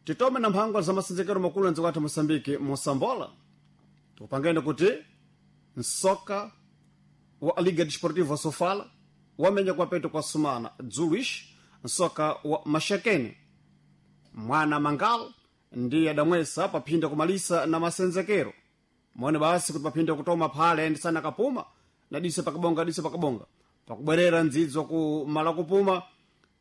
Titome na mphangwa za masenzekero makulu andziko athu Moçambique mosambola. Tikupangeni kuti msoka wa Liga Desportiva Sofala wamenya kwapeto kwa sumana dzuluishi msoka wa Maxakene mwana Mangal ndiye adamwesa paphinda kumalisa na masenzekero. Mone basi kuti paphinda kutoma phale ndisana kapuma na dise pakabonga dise pakabonga pakubwerera ndzidzo ku mala kupuma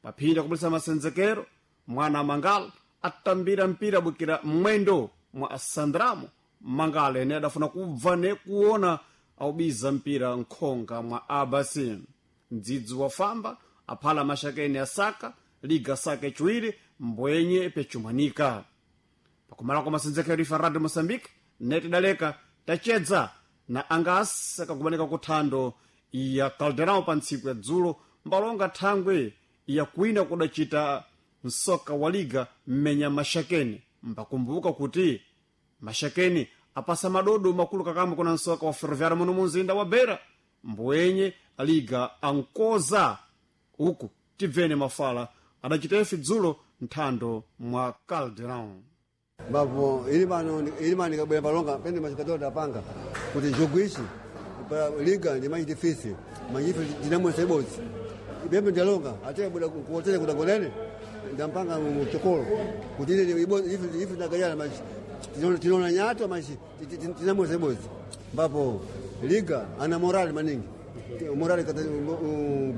paphinda kumalisa masenzekero. Mwana Mangal atambira mpira bukira mwendo mwa Sandramo Mangal ene adafuna kubva ne kuona aubiza mpira nkhonga mwa abasi. Mdzidzi wafamba aphala Maxakeni asaka liga saka chiwiri mbwenye pechumanika. Pakumala kwa masenzekero ifa Radio Moçambique netidaleka tachedza na angas akakumanika kuthando ya Caldeirão pa ntsiku ya dzulo mbalonga thangwe ya kwina kudacita msoka wa liga mmenya Maxakeni. Mbakumbuka kuti Maxakeni apasa madodo makulu kakamba kuna msoka wa Ferroviário muno munzinda wa Beira mbwenye liga ankoza uku tibvene mafala adacita ife dzulo nthando mwa Caldeirão. Mbapo ili mano nikabwera palonga pende machikatola tapanga kuti jogo ichi pa liga ndi manyi difisi manyi ife tinamwesa ibodzi ipembe ndalonga ate buda kuotele kutangonene ndampanga mchokolo kuti ile ibodzi ife ife ndagayana manyi tinoona nyato manyi tinamwesa ibodzi. Mbapo liga ana morali maningi morali kata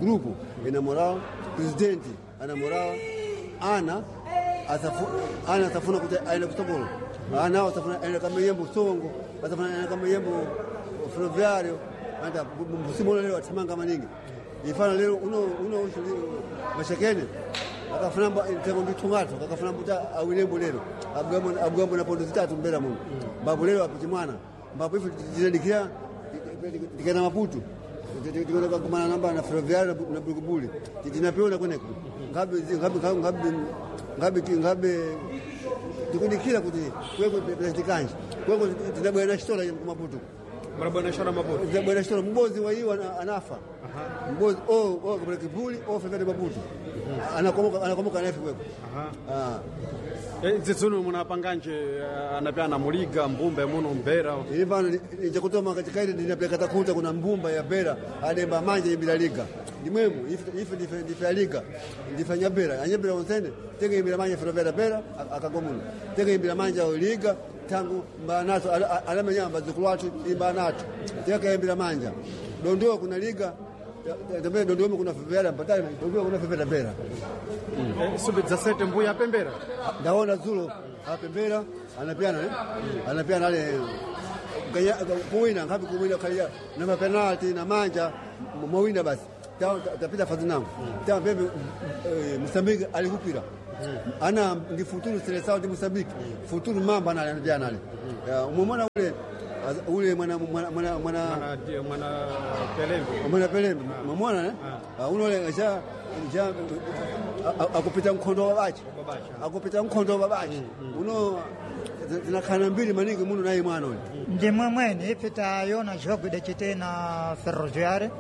grupu ina moral, president ana moral, ana ana atafuna kuti aende kutogolo, ana atafuna aende kama yembo songo, atafuna aende kama yembo Ferroviário. Anda msimu leo atamanga maningi ifana leo uno uno Maxakene akafuna mtengo nditungato akafuna mbuta awilembo lero abgambo abgambo na pondo zitatu mbera muno babu lero apiti mwana mbapo ife tinadikira tikana Maputo tikona kumana namba na Ferroviário na Bulubuli tinapeona kweneko ngabe ngabe ngabe ngabe ngabe tikudikira kuti kweko presidente kweko tinabwera chitola ku Maputo. Mrabwana shora Maputo. Tinabwera chitola mbozi wa hiyo anafa mbozi o o kwa kibuli o Ferroviário Maputo anakomoka anakomoka nafe kweko. Aha. Dzidzuno munapanganje anapyana muliga mbumba muno mbera. Ili pano njakutoma katika ile ndinapeleka takuta kuna mbumba ya bera ademba manje imbira liga ndimwemu ife ndife ndife liga ndife nyabera anyabera onsene tenge imbira manje Ferroviário bera akagomuno tenge imbira manje liga tangu mbanato alamenya bazukulu watu imbanato tenge imbira manja dondoo kuna liga tambe dondoo kuna Ferroviário mpatali dondoo kuna Ferroviário bera. Sube 17 mbuya apembera. Ndaona zulo apembera anapiana eh? Anapiana ale ganya kuwina ngapi kuwina kalia na mapenalti na manja mwawina basi tapita fazi nangu ta bebe Mozambique alikupira ana ndi futuru seleção de Mozambique futuru mamba ana anapiana ale umemwona ule ule mwana mwana mwana mwana mwana Pelembe. Mwana Pelembe umemwona eh unole ja ja akupita mkhondo wa babachi akupita mkhondo wa babachi uno zinakhala mbili maningi muno naye mwana uyu. Ndimwe mwene ife tayona jogo idacite na Ferroviário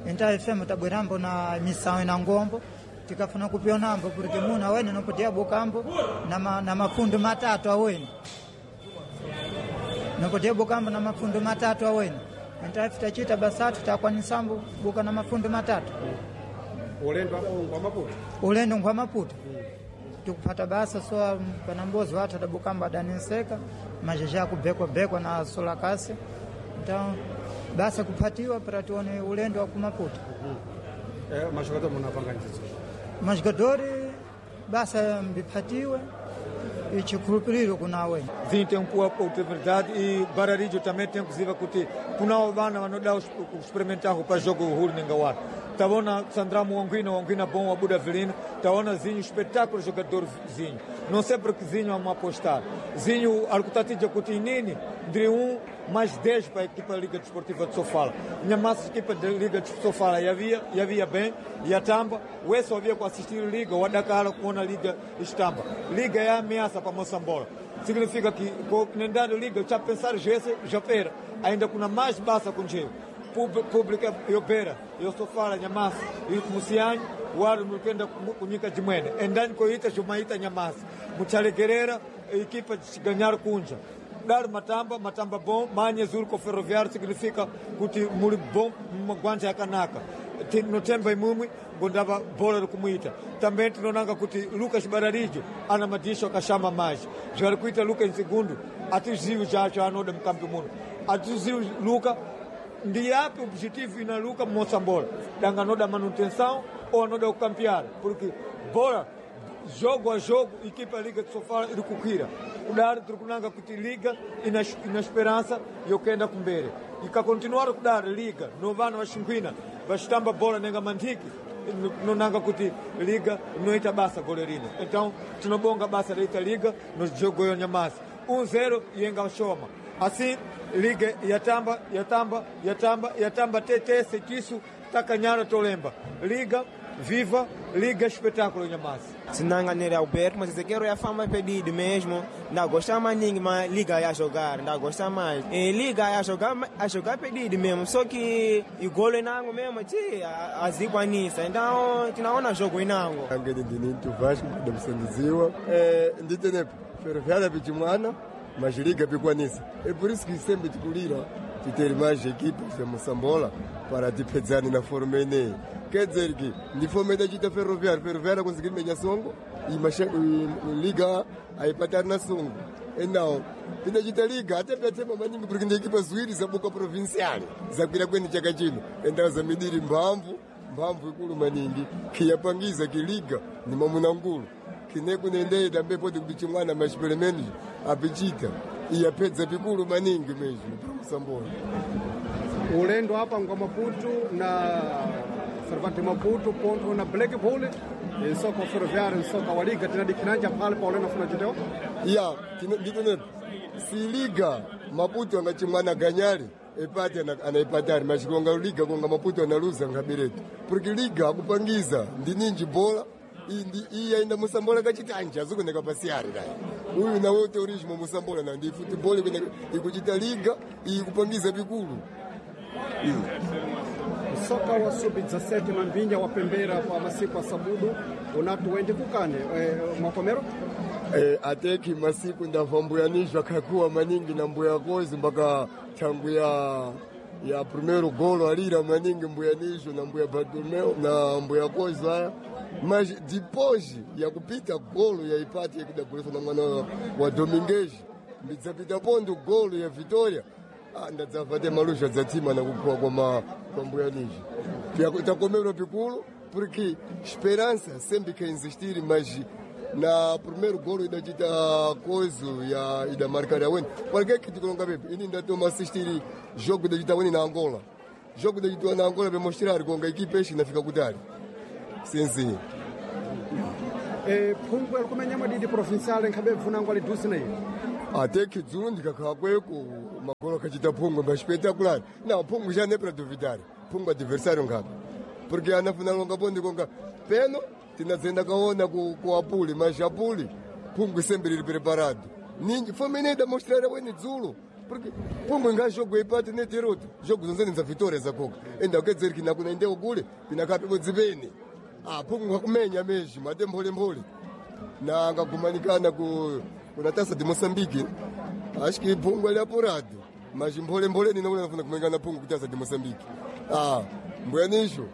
inta ife tabwerambo na misawo na ngombo tikafuna kupionambo porque muno awene nopotia bukambo na mafundo matatu awene nopotia bukambo na mafundo matatu awene inta ife tachita basatu takwanisambo buka na mafundo matatu. Ulendo apo ngwa Maputo. Ulendo ngwa Maputo. Tikupata basa so panambozi watu adabukamba adaniseka majeja kubekwa bekwa na sola kasi então basa kupatiwa para tione ulendo wa ku Maputo. Mashokato munapanga njizo. Mashogadori basa mbipatiwe ichikhulupiriro kunawe. Zinho tem um pouco de verdade e Bararijo também tem inclusive kuti kuna vana vanoda experimentar para jogo huru nengawara. Taona Sandramo Wanguina, Wanguina bom, Abuda Avelino, taona Zinho, espetáculo jogador Zinho. Não sei porque Zinho ama apostar. Zinho, alcutatija kuti inini, entre 1 mais 10 para a equipa da Liga Desportiva de Sofala. Minha massa equipa da Liga de Sofala e havia bem, e a Tamba, o Esso havia com assistir Liga, o Adakara com a Liga Estamba. Liga é a ameaça para Moçambola. Significa que, com a Liga, já pensar já pera, ainda com a mais baixa com jeito. Pública eu pera, eu sou fala Nhamassa, e o Muciano, o Aro Mukenda Kunyika Jimwene, endani koita Jumaita Nhamassa. Muchalekerera equipa de ganhar kunja. Dar matamba, matamba bom, manha zuri com Ferroviário significa kuti muli bom magwanja yakanaka. Tinotemba imumwi ngondava bora kumuita. Também tinonanga kuti Lucas Bararijo ana madisho akashama mais. Zvari kuita Lucas segundo atizivi chacho anoda mukambi muno. Atizivi Luca ndi yapi objetivo ina Luca mosambola. Danga anoda manutenção ou anoda kukampear, porque bola jogo a jogo, equipa Liga de Sofala iri kukwira. Kudari tiri kunanga kuti Liga ina, ina esperança yokenda kumbere. Ikakontinuar kudari Liga no vana vaxinkhwina vaxitamba bola nenga manthiki nonanga kuti Liga inoita basa gole rino. Então tinobonga basa reita Liga no jogo yo nyamasi 1-0 yenga shoma. Assim Liga yatamba yatamba yatamba yatamba tetese tisu takanyara tolemba. Liga viva, Liga espetáculo nyamasi. Sinanganere Alberto, mas esse quero é a fama pedido mesmo. Não gosta mais ninguém, mas liga a jogar, não gosta mais. E liga a jogar pedido mesmo. Só que o golo inango mesmo, ti azikwanisa. Então, tinaona jogo inango. Angene ndinintu Vasco ndamsandiziwa. Nditenepo Ferroviária pichimwana, mas liga pikwanisa. É por isso que sempre tikulira titer mais equipes de Moçambola para tipedzani na forma eneyi. Quer dizer que ndi forma idachita Ferroviária, Ferroviária conseguir menya songo e liga aipatari na songo. Então, tinachita liga até pyatema maningi porque ndi equipa ziwiri zabuka provincial zakwira kweni chaka chino. Então zamidiri mphamvu mphamvu ikulu maningi kiyapangiza kiliga ni mamuna nkulu kine kunendei tambe poti kuti chimwana mas pelo menos apichita iyapedza pikulu maningi mesmo para Moçambola. Ulendo apa ngwa Maputo na Cervantes Maputo ponto na Blackpool ensoka Ferroviário ensoka wa Liga tinadikinanja pale pa ulendo funa chiteo Ya, nditonepo si liga Maputo angachimwana ganyari epate anaipatari mas konga liga konga Maputo analuza ngabiretu porque liga akupangiza ndi ninji bola iyi yaenda musambola kachitanja azikoneka pasiyari dai uyu nawe tourismo musambola na ndi football ikuchita liga iyi kupangiza pikulu. Msoka wa sub 17 mambinya wapembera kwa masiku a sabudu unatu wende kukane makomero Ateki masiku ndamva mbuyanizwa kakuwa maningi na mbuya kozi mpaka tangu ya primeiro golo alira maningi mbuyanizwa na mbuya Bartolomeu na mbuya kozi aya mas depois ya kupita golo ya ipati yakudagolesa na mwana wa Domingues ndidzapita pondo golo ya Vitória ndadzava te malusha dzatima na kukuwa kwa mbuyanizwa takomerwa pikulu porque esperança sempre que insistir, mas na primeiro golo idachita kozo ya idamarcar awene porque que tikulonga pepe ini ndatoma assistir jogo idachita weni na Angola jogo idachitiwa na Angola pemostrar konga equipe ishi inafika kutali sinzi phungwe alikumenya madidi provincial nkhabe bvunango alidusi na iyo ateki dzulo ndikakhala kweko magolo akachita phungwe maspectacular na phungwe já nem para duvidar phungwe adversário ngapi porque anafuna longa bondi konga peno tinadzenda kaona ku apuli mas apuli phungwe sempre lili preparado ninji fomene idamostrar weni dzulo porque phungwe nga jogo ipati neterota jogo zonzene za vitória zakoka enda kedzeri kinakuna indeko kule pinakapipo dzipene phungwe ngakumenya mesmo ate mpholemphole na angagumanikana kuna taça de Moçambique acho que phungwe ali apurado mas mpholemphole nina kule nafuna kumenyana phungwe kutaça de Moçambique mbuyanisho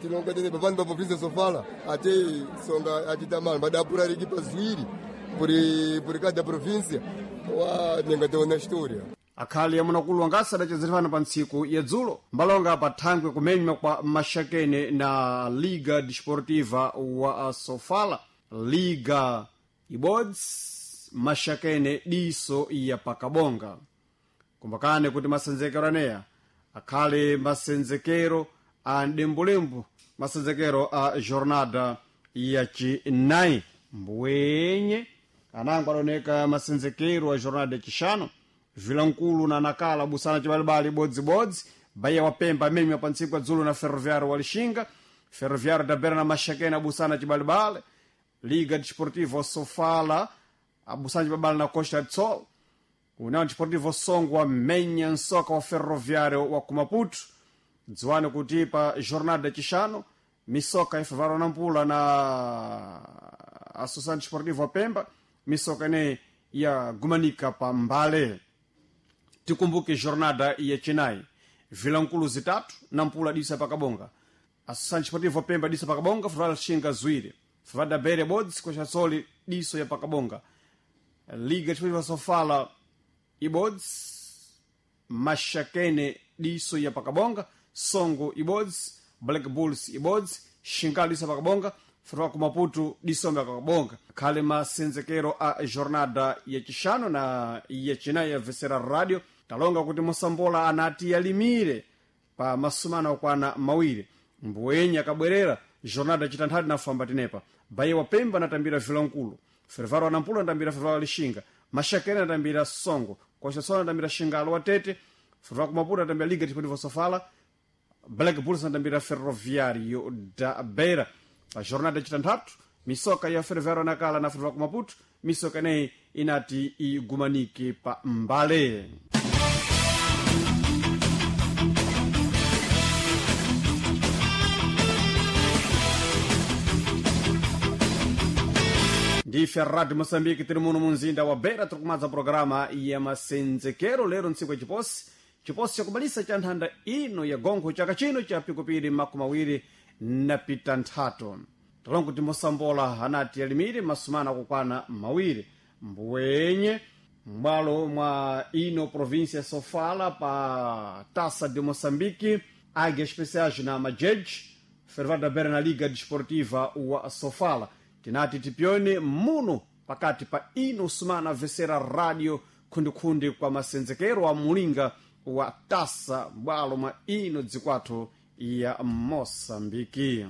tilonga tene papani pa província sofala ate songa achitamala madapura rikipa ziwiri puri cada província wa nenga tiona história akhali amunakulu angasi adachezerefana pa ntsiku ya dzulo mbalonga pa thangwe kumenywa kwa maxakene na Liga Desportiva wa Sofala Liga ibodzi maxakene diso ya pakabonga kumbakane kuti masenzekero aneya akhale masenzekero a mdembulembu masenzekero a jornada yacinayi mbuwenye anango adaoneka masenzekero a jornada yacixano vilankulu na nakala busana cibalibali bodzibodzi Bahia wapemba amenywa pa ntsiku ya dzulo na Ferroviário wa Lixinga Ferroviário da Beira na Maxakene abusana cibalibali Liga Desportiva Sofala abusana cibalibali na Costa do Sol União Desportiva Songo amenya nsoka wa Ferroviário wa Kumaputo dziwani kuti pa jornada yacixano misoka ifavaro na mpula na Associação Desportiva Pemba, misoka ineyi yagumanika pa mbale. Tikumbuke jornada yacinayi, vilankulu zitatu na mpula disa pakabonga. Associação Desportiva Pemba disa pakabonga, Ferroviário Lixinga ziwiri, Ferroviário da Beira ibodzi, Coxa diso ya pakabonga. Liga Desportiva Sofala ibodzi, Maxakene diso ya pakabonga, Songo ibodzi, Black Bulls ibodzi, Xingalo diso ya pakabonga, Ferroviário ku Maputo diso ya pakabonga. Khale masenzekero a jornada yacixano na yacinayi ya Vesera Radio talonga kuti Mosambola anati yalimire pa masumana okwana mawiri, mbuwenyi akabwerera jornada yacitanthatu nafamba tenepa. Bahia wa Pemba anatambira Vilankulu, Ferroviário Nampula anatambira Ferroviário Lixinga, Maxakene anatambira Songo, Coxa Sol anatambira Xingalo wa Tete, Ferroviário ku Maputo anatambira Liga Desportiva Sofala, Black Bulls anatambira Ferroviário da Beira. Pa jornada yacitanthatu misoka ya Ferroviário Nacala na Ferroviário ku Maputo, misoka ineyi inati igumanike pa mbale. Ndife Radio Moçambique, tiri muno munzinda wa Beira, tiri kumadza programa ya masenzekero lero ntsiku ya chiposi, chiposi chakubalisa cha nthanda ino ya gonkho chaka chino cha pikupiri 26. Talonga kuti Mosambola anati alimire masumana akukwana mawiri mbuwenye m'bwalo mwa ino província Sofala pa Taça de Moçambique, Águia Especiais na Majeje, Ferroviário da Beira na Liga Desportiva wa Sofala. Tinati tipione muno pakati pa ino sumana vesera radio khundikhundi kwa masenzekero a mulinga wa tasa bwalo mwa ino dzikwathu ya Moçambike.